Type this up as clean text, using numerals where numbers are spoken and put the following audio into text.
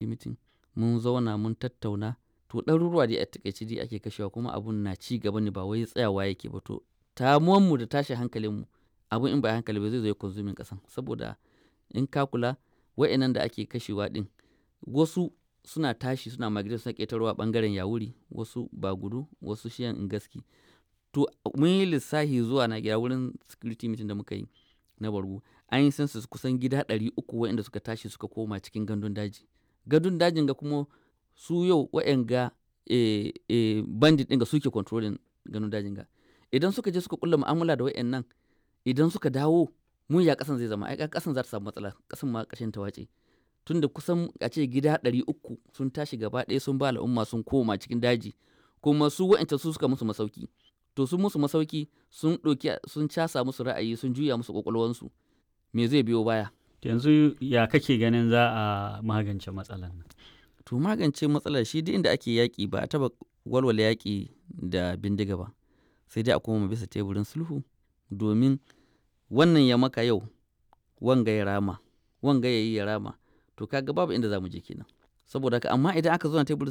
Meeting mun zauna mun tattauna. To, ɗaruruwa dai a taƙaice dai ake kashewa, kuma abun na ci gaba ne, ba wai tsayawa yake ba. To, mu da tashin hankalinmu, abun in ba hankali ba zai zo ya consuming ƙasan, saboda in ka kula, wa'innan da ake kashewa ɗin, wasu suna tashi suna migrate, suna ƙetarowa ɓangaren Yawuri, wasu Bagudu, wasu shiyan Ngaski. To, mun yi lissahi zuwa na gida wurin security meeting da muka yi na Bargu, an yi census, kusan gida 300 wa'inda suka tashi suka koma cikin gandun daji. Gandun dajin ga kuma su yau wa'yanga bandit ɗin ga suke controlling gandun dajin ga. Idan suka je suka kulla mu'amala da wa'yannan, idan suka dawo, mun ya ƙasan zai zama? Ai ƙasan za ta samu matsala, ƙasan ma ƙarshen ta wace. Tunda kusan a ce gida 300 sun tashi gaba ɗaya sun ba al'umma sun koma cikin daji, kuma su wa'yancan su suka musu masauki. To, sun musu masauki, sun ɗauki, sun casa musu ra'ayi, sun juya musu ƙwaƙwalwansu. Me zai biyo baya? Yanzu ya kake ganin za a magance matsalar nan? To, magance matsalar shi, duk inda ake yaƙi ba a taɓa walwala yaƙi da bindiga ba, sai dai a koma bisa teburin sulhu, domin wannan ya maka yau, wanga ya rama, wanga ya yi ya rama. To, kaga babu inda za mu je kenan. Saboda haka, amma idan aka zauna teburin